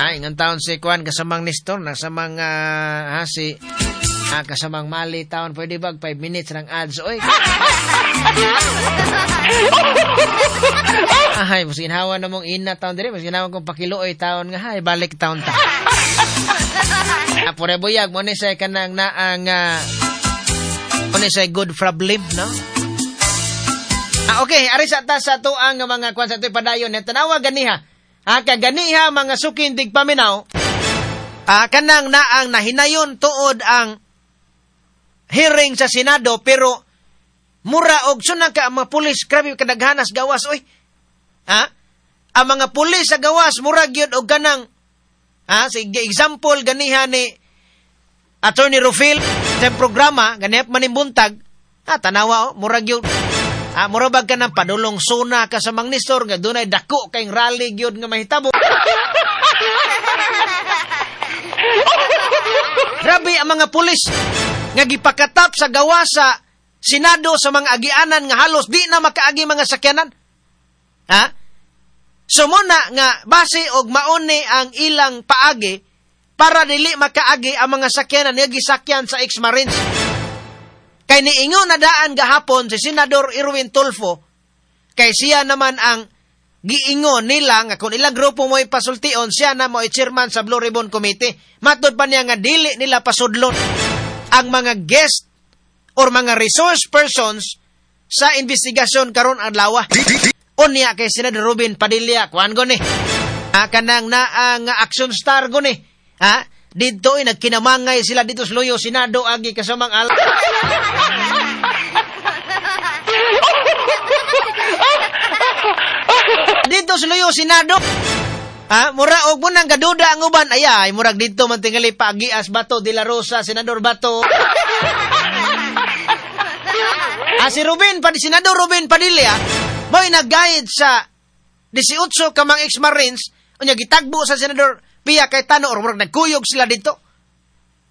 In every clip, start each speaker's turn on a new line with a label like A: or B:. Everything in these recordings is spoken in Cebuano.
A: Ay, ingon taon si Kuan kasamang Nestor, nasamang si kasamang Mali taon, pwede ba 5 minutes ng ads oy. Ay, mas ginhawa na mong ina taon dire, mas ginhawa kong pakiluoy taon nga hay, balik taon ta. Pure buyag mo ni say kanang naang mo ni say good problem, no? Okay, ari sa ta sa tuang nga mga kwan sa ito'y padayon ni tanawa ganiha. Kaganiha mga sukin tigpaminaw, kanang naang nahinayon tuod ang hearing sa Senado pero mura og sunang ka ang mga pulis, grabe kadaghanas gawas oy. Ha? Ang mga pulis sa gawas mura gyud og kanang sa example ganiha ni Attorney Rufil sa programa ganihap manimbuntag, tanawa oh, mura gyud mura bag ka ng padulong suna ka sa Mang Nestor nga dunay dako kay rally gyud nga mahitabo. Grabe ang mga pulis nga gipakatap sa gawas sa Senado sa mga agianan nga halos di na makaagi mga sakyanan. Ha? So muna nga base og mauni ang ilang paagi para dili makaagi ang mga sakyanan nga gisakyan sa ex-Marines. Kay niingon na daan gahapon si Senador Erwin Tulfo, kay siya naman ang giingon nila nga kung ilang grupo mo'y pasultion, siya na mo'y chairman sa Blue Ribbon Committee. Matod pa niya nga dili nila pasudlon ang mga guest or mga resource persons sa investigasyon karon adlaw. Unya kay Senador Robin Padilla, kuan go ni. Kanang naang action star go ni. Ha? Dito ay nagkinamangay sila dito sa Luyo Senado agi kasamang al. Dito sa Luyo Senado. Ha, mura og munang gaduda ang uban ay murag dito man tingali pagias Bato de la Rosa, Senador Bato. Si Robin Padilla, Senador Robin Padilla, mo'y nag-guide sa 18 ka mga ex-Marines unya gitagbo sa Senador Pia Cayetano or murag nagkuyog sila dito.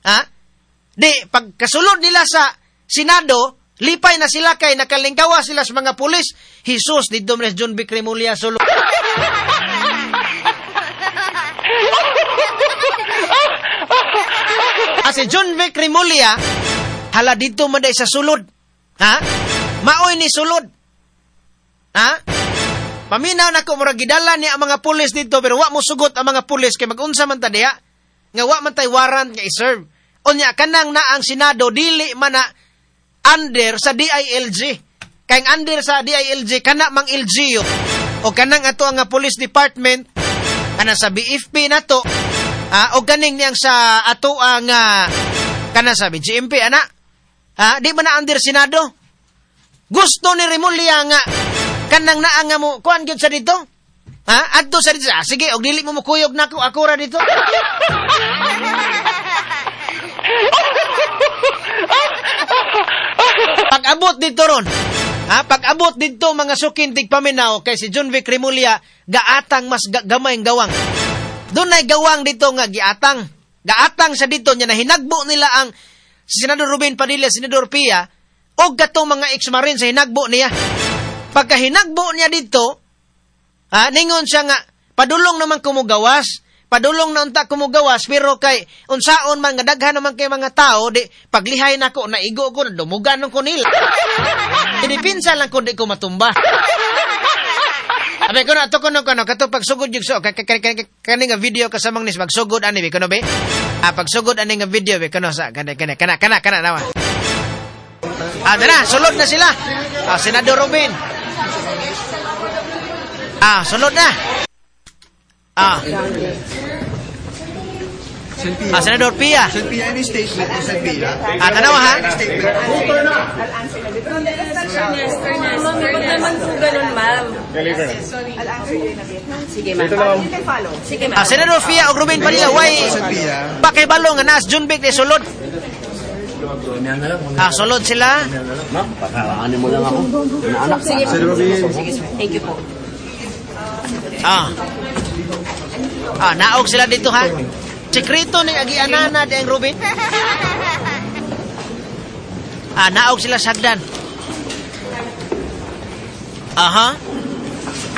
A: Ha? Di pagkasulod nila sa Senado, lipay na sila kay nakalingkawa sila sa mga pulis. Jesus, dito man John B. Remulla solo. Si John B. Remulla, hala dito man day sa sulod. Ha? Maoy ni sulod. Ha? Paminaw na ko, murag gidala niya ang mga pulis dito, pero wa mo sugot ang mga pulis kay mag-unsa man ta diha, nga wa man tay warrant nga i-serve. Unya, kanang na ang Senado, dili man na under sa DILG. Kay ang under sa DILG, kana mang LGU. O kanang ato ang police department, kana sa BFP na to, o kaning niyang sa ato ang, kana sa BGMP, ana. Ha? Di man na under Senado. Gusto ni Remulla nga, kanang naa nga mo, kuan gyud sa dito? Ha? Adto sa dito. Sige, og dili mo mukuyog nako, ako ra dito. Pag-abot dito ron. Ha? Pag-abot dito mga sukin tigpaminaw kay si John Vic Remulla gaatang mas gamay ang gawang. Dunay gawang dito nga giatang. Gaatang sa dito niya na hinagbo nila ang si Senador Robin Padilla, Senador Pia og katong mga ex-marine sa hinagbo niya. Pagka hinagbo niya dito, ningon siya nga, padulong naman kumugawas, padulong na unta kumugawas, pero kay unsaon man nga daghan naman kay mga tao, di paglihay nako, naigo ko, dumugan ko nila. Dinipinsa lang ko, di ko matumba. Abi ko na, ato ko no, kato pagsugod yung so, kani nga video kasamang nis, pagsugod ani, bi ko no, be? Pagsugod ani nga video, bi ko no, sa, kana, nawa. Dara, sulod na sila. Senador Robin. Sulod na. Senador Pia.
B: Sen Pia, any statement? Sen Pia.
A: Tanawa ha?
C: Ma'am, wag naman po ganun, ma'am. Sige, ma'am. Sige, ma'am.
A: Senador Pia o Robin Padilla, why? Pakibalo nga naas John Vic ni sulod. Sulod sila.
D: Ma'am, pakaanin mo lang ako. Anak.
C: Sige, sige, sir. Thank you po.
A: Naog sila dito ha. Sekreto ni agianana di ang Robin. Naog sila sa hagdan. Aha.